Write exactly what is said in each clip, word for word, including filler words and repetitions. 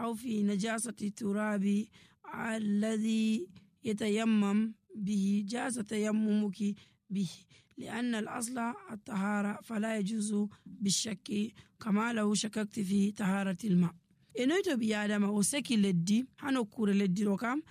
أو في نجاسة التراب الذي يتيمم به جاز تيممك به لأن الأصل الطهارة فلا يجوز بالشك كما لو شككت في طهارة الماء. enoyto bi adama o seki leddi ha nokkure leddi ɗo kam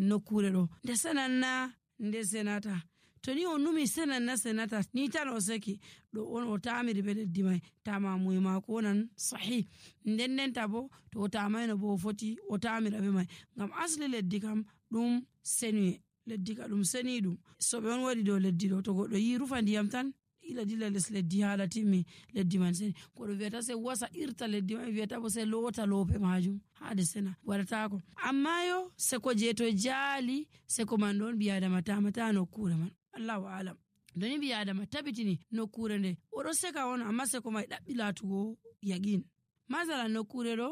nokkure ɗo nde senanna nde senata to ni o numi senanna senata ni tan o seki ɗo on o tamiri be leddi mai tamamuye mako onan sahih nden ndenta bo to o tamayno bo o foti o tamira be mai ngam asli leddi kam ɗum senuye leddi ka ɗum seni ɗum so ɓe on waɗi dow leddi ɗo to goɗɗo yi rufa ndiyam tan ila dilla les leddi hala timmi leddi man seni koɗo wiyata se wasa irta leddi man wiyata bo se lota lope majum haade sena waɗatako amma yo seko je to jaali seko man ɗon biyadama tamata nokkure man allahu alam doni biyadama tabitini nokkure nde oɗo seka on amma seko mai ɗaɓɓi latugo yaqin masalan nokkure ɗo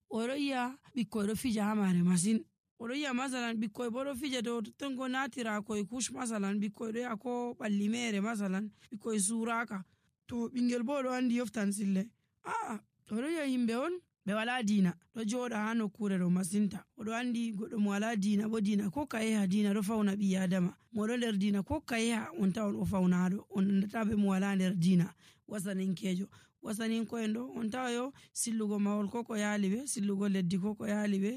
oɗo yiya ɓikkoy ɗo fija ha mare masin oɗo yiya masalan ɓikkoy bo ɗo fija dow tongo natira koye kush masalan ɓikkoy ɗo yaha ko ɓalli mere masalan ɓikkoy suraka to ɓingel bo ɗo andi yoftan sille aa oɗo yiya yimɓe on ɓe wala dina ɗo joɗa ha nokkure ɗo masinta oɗo andi goɗɗo mo wala dina bo dina ko kayeha dina ɗo fawna ɓi adama moɗo nder dina ko kayeha on tawon o fawnaɗo on andata be mo wala nder dina wasaninkejo wasaninko'en ɗo on tawa yo sillugo mahol ko ko yaali ɓe sillugo leddi ko ko yaali ɓe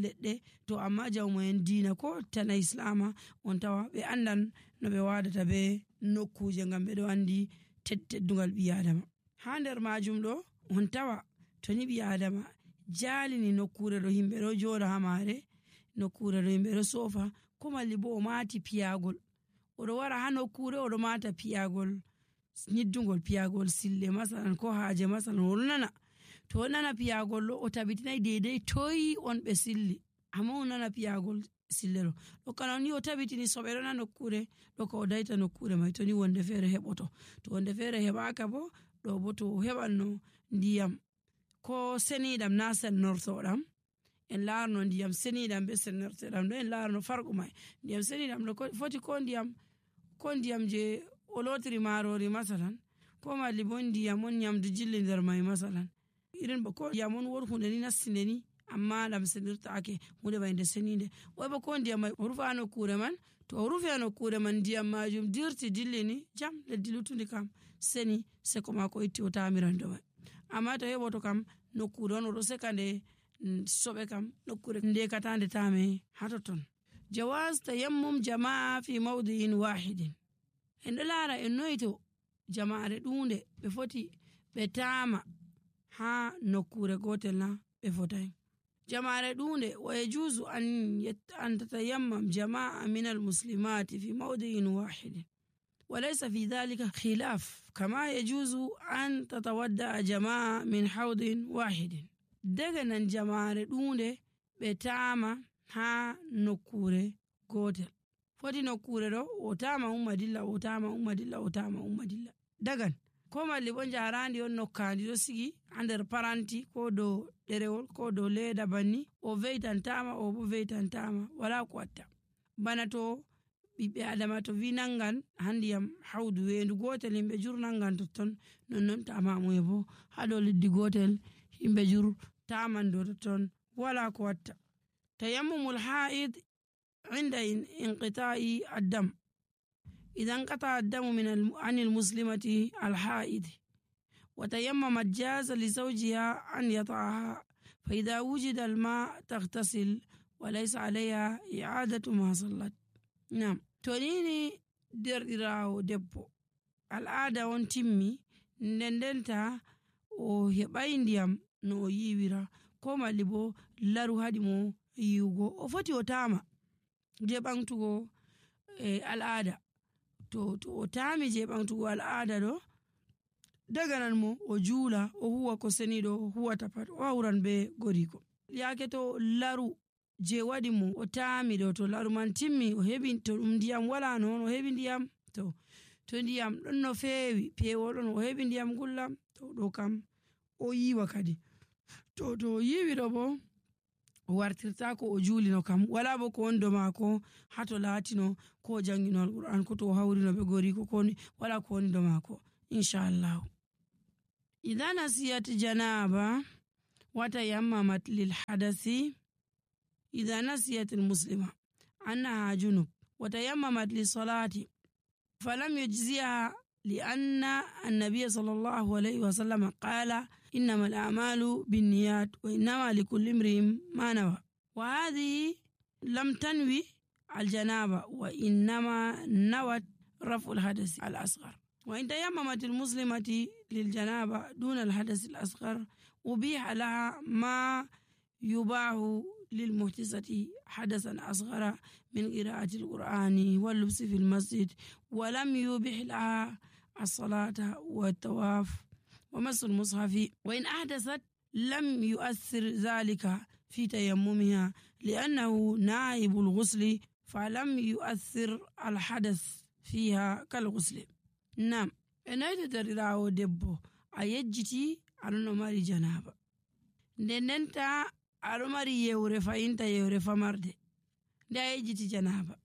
leɗɗe to amma jawmo'en dina ko tana islama on tawa ɓe andan no ɓe wadata be nokkuje ngam ɓe ɗo andi teddungal ɓi adama ha nder majum ɗo on tawa to ni ɓi adama jalini nokkure ɗo himɓe ɗo joɗa ha mare nokkure ɗo himɓe ɗo sofa ko malli bo o mati piyagol oɗo wara ha nokkure oɗo mata piyagol nyiddugol piyagol sille masalan ko haaje masalan o nana to o nana piyagol ɗo o tabitinai dedei toyi on ɓe silli amma o nana piyagol sille ɗo ɗo kana ni o tabitini so ɓe ɗo nana nokkure ɗo ka o daita nokkure mai to ni wonde feere heɓoto to wonde feere heɓaka bo ɗo bo to o heɓanno ndiyam ko seniɗam na sennortoɗam en larno ndiyam seniɗam be sennortoɗam ɗo en larno farqu mai ndiyam seniɗam ɗo foti ko ndiyam ko ndiyam je o lotiri marori masalan ko malli bo ndiyam on nyamdu jilli nder mai masalan irin ba ko ndiyam on wor hunde ni nassinde ni amma ɗam senirtaake hunde mai nde seninde wai ba ko ndiyam mai o rufa nokkure man to o rufi nokkure man ndiyam majum dirti dilli ni jam leddi lutundi kam seni seko mako itti o tamiran do mai amma to heɓoto kam nokkure on oɗo seka nde soɓe kam nokkure ndekatande tame hatoton jawaz tayammum jama'a fi mawdi'in wahidin en ɗo laara en noyito jama'are ɗunde ɓe foti ɓe tama ha nokkure gotel na ɓe fotai jama'are ɗunde wa yajuzu an an tatayammam jama'a min almuslimati fi mawdi'in wahidin وليس في ذلك خلاف كما يجوز أن تتودع جماعة من حوض واحد دغنا جماعة دونde بتاما ها نكورة gotel foti nokkure ɗo o tama umma dilla o tama umma dilla o tama umma dilla dagan ko malli bo jarandi on nokkandi ɗo sigi ha nder paranti ko dow ɗerewol ko dow leda banni o veitantama o bo veitantama wala ko watta bana to ɓiɓɓe adama to wi nangan handiyam hawdu wendu gotel himɓe jur nangan totton nonnon tamamuye bo ha dow leddi gotel himɓe jur taman dow totton wala ko watta tayammumul haid عند انقطاع الدم إذا انقطع الدم من عن المسلمة الحائض وتيممت جاز لزوجها أن يطعها فإذا وجد الماء تغتسل وليس عليها إعادة ما صلت نعم تونيني دردراو دبو العادة on timmi ndendenta o heɓai ndiyam no o yiwira ko malli bo laru haɗi mo yiwugo o foti o tama je ɓamtugo e al'ada to to o tami je ɓamtugo al'ada ɗo daganan mo o juula o huwa ko seniɗo o huwata pat o hawran be goriko yake to laru je waɗi mo o tami ɗo to laru man timmi o heɓi to ɗum ndiyam wala noon o heɓi ndiyam to to ndiyam ɗon no feewi pewol ɗon o heɓi ndiyam gullam to ɗo kam o yiwa kadi to to o yiwi ɗo bo o wartirta ko o juulino kam wala bo ko wondo mako hato latino ko jangino alquran ko to hawrino be gori ko koni wala ko wondo mako inshallah idha nasiyat janaba وتيممت للحدث إذا نسيت المسلمة أنها جنب وتيممت للصلاة فلم يجزيها لأن النبي صلى الله عليه وسلم قال إنما الأعمال بالنيات وإنما لكل امرئ ما نوى، وهذه لم تنوي الجنابة وإنما نوت رفع الحدث الأصغر. وإن تيممت المسلمة للجنابة دون الحدث الأصغر أبيح لها ما يباح للمحدثة حدثا أصغر من قراءة القرآن واللبس في المسجد، ولم يبح لها الصلاة والطواف ومس المصحف. وإن أحدثت لم يؤثر ذلك في تيممها لأنه نائب الغسل فلم يؤثر الحدث فيها كالغسل. نعم إنه تدريراو دبو أيجتي أرنو ماري جنابة نننتا أرو ماري يوري فإنتا يوري فمرد دا أيجتي جنابة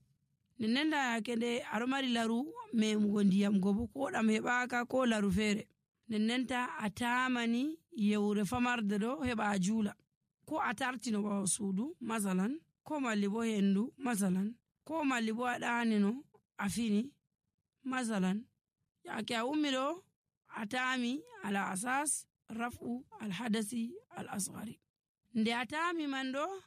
نننتا كده أرو ماري لارو ميمغون ديام غوبو كودا ميباكا كو لارو فيري نننتا أتامني يوري فمرد دو هبا جولا كو أتارتينو باو سودو مثلا كو ماليبو هندو مثلا كو ماليبو أدانينو أفيني مثلا yake aumiro atami ala asas rafu alhadasi al-asghari nde atami mando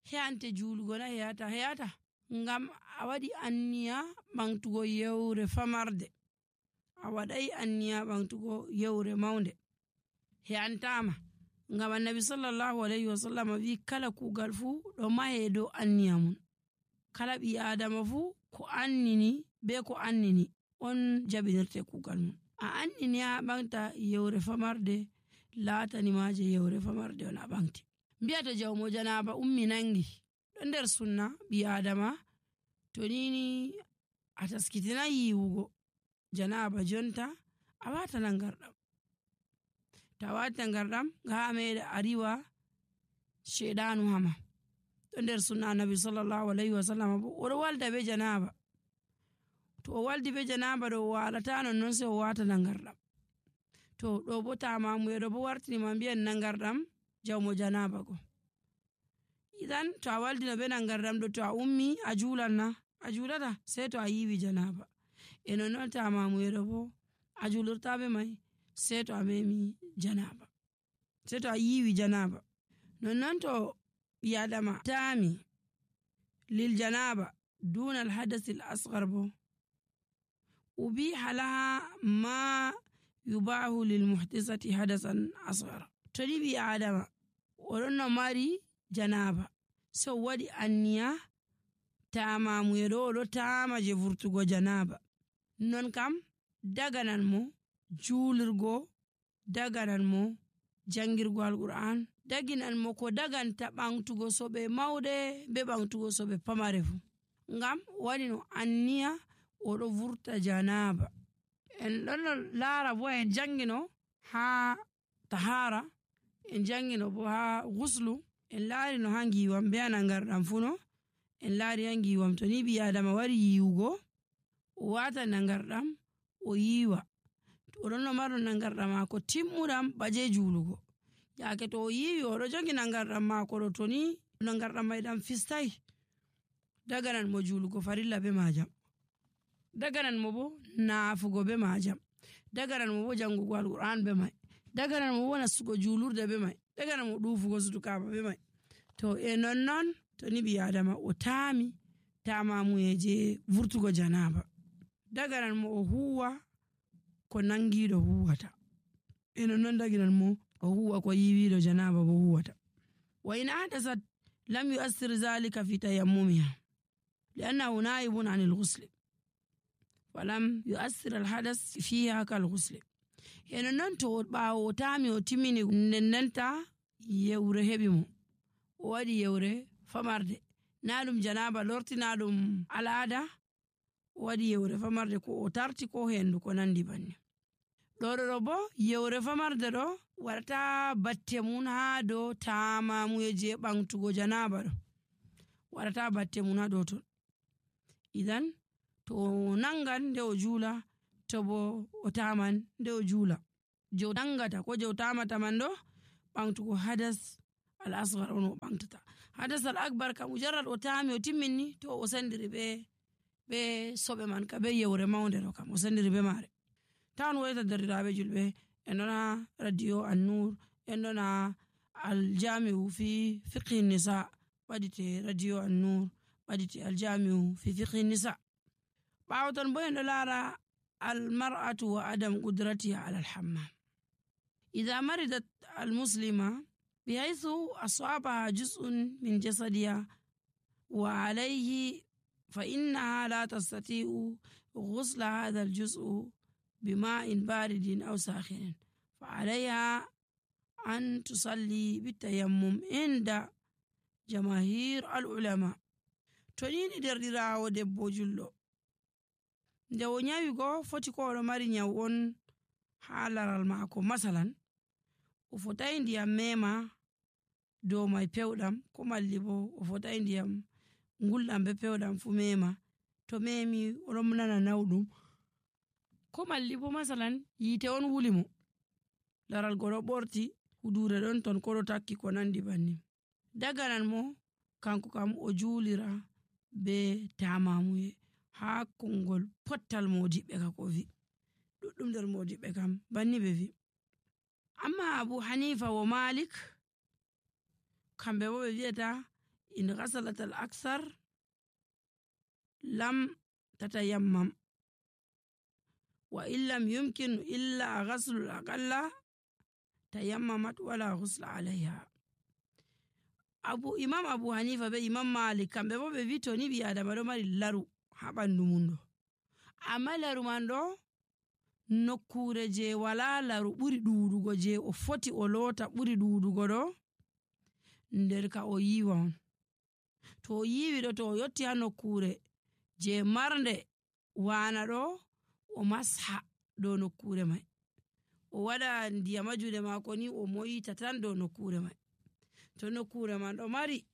heante julugona heata heata ngam awadi anniya bangtugo yewre famarde awadai anniya bangtugo yewre maunde heantama ngam annabi sallallahu alaihi wasallam wi kala kugal fu do mahe do anniya mun kala bi adama fu ko annini be ko annini on jabinirte kugal mun a annini a bangta yewre famarde latani maje yewre famarde on a bangti mbiyata jawmo janaba ummi nangi do nder sunna bi adama to nini a taskitina yiwugo janaba jonta a wata nangardam ta wata nangardam ga meede ariwa shedanu hama do nder sunna nabi sallallahu alaihi wasallam o walda be janaba to o waldi be janaba do walata non non se o wata nangardam to do bo tamamu edo bo wartini ma biyan nangardam jawmo janaba go idan to a waldi no be nangardam do to a ummi a julanna a julata sai to a yiwi janaba e non non tamamu edo bo a julurta be mai sai to a memi janaba sai to a yiwi janaba non non to biyadama tami lil janaba دون الحدث الأصغر بو أبيح لها ما يباح للمحدثة حدثا أصغر تريبي آدم ورنا ماري جنابة سوادي أنيا تاما ميرولو تاما جفرتغو جنابة نون كم دغنان مو جولرغو دغنان مو jangirgo alquran daginan mo ko daganta bangtugo sobe mawde be bangtugo sobe pamare fu ngam wani no anniya o do vurta janaba en don laara bo en jangino ha tahara en jangino bo ha ghuslu en laari no hangi wam be anangardam funo en laari hangi wam to ni bi adama wari yiwugo o wata nangardam o yiwa o don no maro nangardam ko timmudam baje julugo yake to yiwi o do jangi nangardam mako do toni nangardam maydam fistai daganan mo julugo farilla be majam daganan mo bo naafugo be majam daganan mo bo jangugo alquran be mai daganan mo wona sugo julurde be mai daganan mo dufugo sutukaba be mai to e non non to ni bi adama o tami tamamu eje vurtugo janaba daganan mo o huwa ko nangido huwata e non non daginan mo o huwa ko yiwido janaba bo huwata wa in hadasat lam yu'assir zalika fi tayammumiha لأنه نائب عن الغسل ولم يؤثر الحدث فيها كالغسل يعني ننتو باو تامي وتميني نننتا يوري هبيمو ودي يوري فمرد نالم جنابة لورتي نالم العادة ودي يوري فمرد كو تارتي كو هندو كو نندي بني لوري ربو يوري فمرد رو ورتا باتمون هادو تاما مويجي بانتو جنابة رو ورتا باتمون هادو تون idan to nangan de o jula to bo o taman de o jula jo dangata ko jo tamata man do ɓamtugo hadas al asgar on o ɓamtata. Hadas al akbar kam mujarrad o taami o timminni to o sendiri be be soɓe man ka be yewre mawnde ɗo kam o sendiri be maare. Tawan woyta derdiraaɓe julɓe en ɗon ha radio An-Nur, en ɗon ha aljamiu fi fiqhi nisa ɓadite radio An-Nur ɓadite aljamiu fi fiqhi nisa. ɓaawo ton bo en ɗo laara almar'atu wa adam qudratiha ala alhammam. idha maridat almuslima bihaythu asabaha juz'un min jasadiha wa alayhi fa innaha la tastati'u ghusla hadha aljuz'u bima'in baridin aw sakhinin fa alayha an tusalli bitayammum inda jamahir alulama. To ni derɗirawo debbo julɗo nde o nyawi go foti ko oɗo mari nyaw on ha laral maako, masalan o fotai ndiyam mema dow mai pewɗam, ko malli bo o fotai ndiyam ngulɗam be pewɗam fu mema. To memi oɗon nana nawɗum, ko malli bo masalan yite on wuli mo, laral go ɗo ɓorti, hudure ɗon ton ko ɗo takki ko nandi banni, daganan mo kanko kam o julira be tamamuye ha kongol pottal modiɓɓe ka ko vi ɗuɗɗum nder modiɓɓe kam banni ɓe vi. Amma Abu Hanifa wa Malik kamɓe bo ɓe wi'ata in ghasalat al aksar lam tatayammam wa illam yumkin illa ghaslu al aqalla tayammamat wala ghusla alayha. Abu Imam Abu Hanifa be Imam Malik kamɓe bo ɓe wi to ni ɓi adama ɗo mari laru ha ɓandu mum ɗo, amma laru man ɗo nokkure je wala laru ɓuri ɗuɗugo je o foti o lota ɓuri ɗuɗugo ɗo nder ka o yiwa on. To o yiwi ɗo, to o yotti ha nokkure je marnde wana ɗo, o masha dow nokkure mai, o waɗa ndiyam ha juɗe mako ni o moyita tan dow nokkure mai. To nokkure man ɗo mari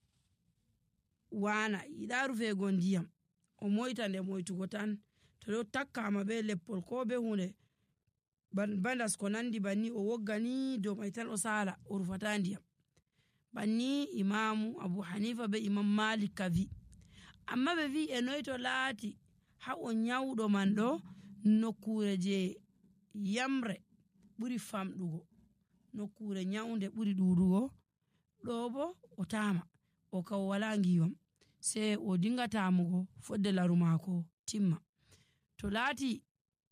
wana yiɗa rufego ndiyam, o moyta nde moytugo tan. To ɗo takkama be leppol ko be hunde bandas ko nandi banni, o woggani dow mai tan o sala, o rufata ndiyam. Banni Imamu Abu Hanifa be Imam Malik ka vi. Amma ɓe vi e noy to laati ha o nyawɗo man ɗo nokkure je yamre ɓuri famɗugo, nokkure nyawnde ɓuri ɗuɗugo ɗo bo o tama, o ka o wala ngiwam, sai o dinga tamugo fodde laru mako timma. To laati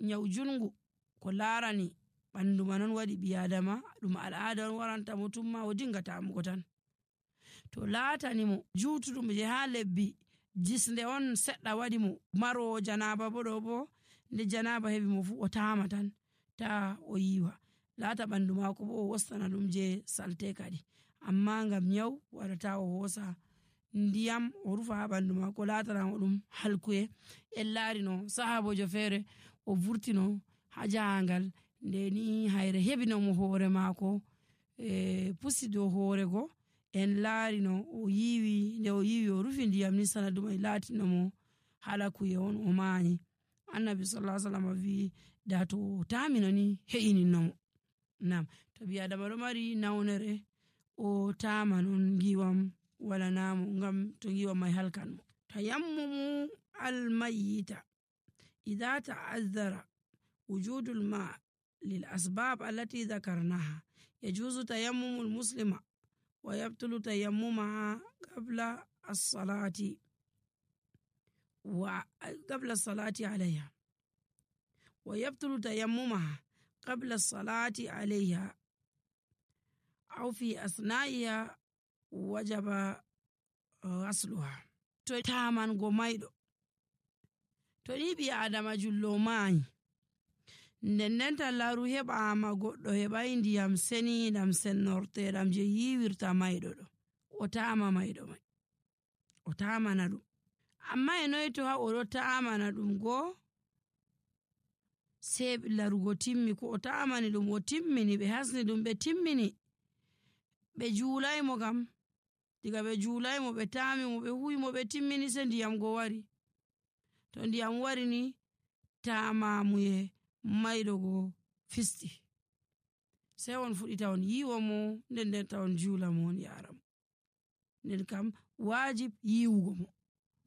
nyaw jungu ko larani ɓandu man on waɗi ɓi adama ɗum al'ada on waranta mo tumma, o dinga tamugo tan. To laatani mo jutuɗum je ha lebbi jisnde on seɗɗa waɗi mo maro janaba bo ɗo bo nde janaba heɓi mo fu o tama tan ta o yiwa, laata ɓandu mako bo o wostana ɗum je salte kadi. Amma ngam nyaw waɗata o hosa ndiyam o rufa ha ɓandu mako latanamo ɗum halkuye. En laari no sahabojo feere o vurtino ha jahangal nde ni hayre heɓinomo hoore mako e pusi dow hoore go, en laari no o yiwi, nde o yiwi o rufi ndiyam ni sanadu mai latinomo halakuye on o mayi. Annabi sallallahu alaihi wasallam vi da to tamino ni he'ininnomo. Nam to ɓi adama ɗo mari nawnere o tama non ngiwam wala namo, ngam to ngiwam mai halkan mo. Tayammumu almayyita idha ta'azzara wujudul ma lil asbab allati dhakarnaha yajuzu tayammumu almuslima wa yabtulu tayammumaha qabla as-salati wa qabla as-salati alayha wa yabtulu tayammumaha qabla as-salati alayha aw fi asna'iha wajaba ghasluha. To taman go mayɗo, to ni ɓi adama jullo mayi ndendenta laru heɓama goɗɗo heɓai ndiyam seniɗam sennorteɗam je yiwirta mayɗo ɗo, o tama mayɗo mai, o tamana ɗum. Amma e noy to ha oɗo tamana ɗum go sei larugo timmi, ko o tamani ɗum o timmini, ɓe hasni ɗum ɓe timmini, ɓe juulaymo kam, diga ɓe juulaymo ɓe tami mo ɓe huwi mo ɓe timmini se ndiyam go wari. To ndiyam wari ni tamamuye mayɗo go fisti, sey on fuɗita on yiiwo mo nden nden ta on juula mo on yaara mo. Nden kam waajib yiiwugo mo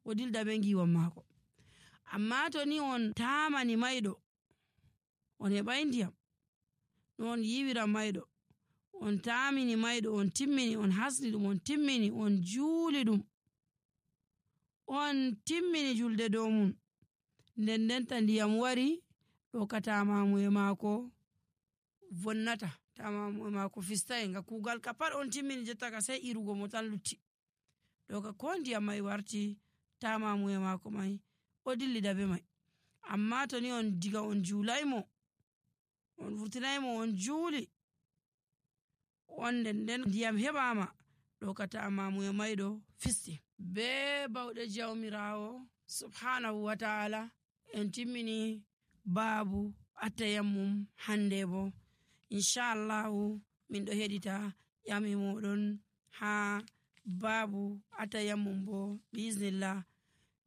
o dilda be ngiiwon maako. Amma to ni on taamani mayɗo on heɓay ndiyam no on yiiwira mayɗo, on taamini mayɗo on timmini on hasni ɗum on timmini on juuli ɗum on timmini julde dow mum, nden ndenta ndiyam wari ɗo ka taamamuye maako vonnata, taamamuye maako fistay nga kuugal ka pat on timmini jotta ka sey irugo mo tan lutti. Ɗo ka ko ndiyam may warti taamamuye maako may o dillida be may. Amma to ni on diga on juulaymo on vurtinaymo on juuli on nden nden ndiyam heɓaama ɗo ka taamamuye mayɗo fisti. Be bawɗe jawmiraawo subhanahu wa ta'ala en timmini baabu atayammum hande bo inchallahu min ɗo heɗita ƴami moɗon ha baabu atayammum bo biiznillah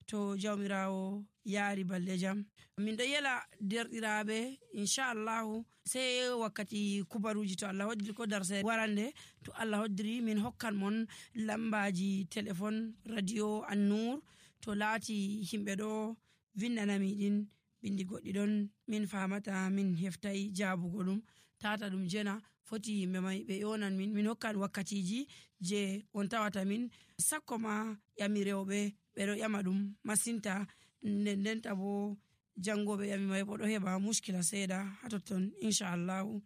to jawmiraawo yaari balɗe jam. Min ɗo yela derɗiraaɓe inchallahu sey wakkati kubaruji to Allah hoddiri ko darse warande to Allah hoddiri min hokkan mon lambaji téléphone radio An-Nur to laati himɓe ɗo vindanami ɗin bindi goɗɗi ɗon min famata min heftay jaabugo ɗum tata ɗum jena foti yimɓe may ɓe yonan min min hokkan wakkatiji je on tawata min sakko ma ƴami rewɓe ɓe ɗo ƴama ɗum masinta nden ndenta bo jangoɓe ƴami may bo ɗo heɓa muskila seeɗa ha totton inchallahu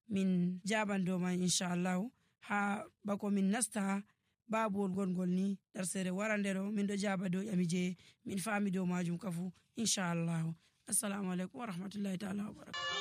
min jaban dow man inchallahu ha bako min nasta babuwol gongol ni darsere warande ɗo min ɗo jaba dow ƴami je min fami dow majum kafu inchallahu. Assalamu alaikum wa rahmatullahi ta'ala wa barakatuh.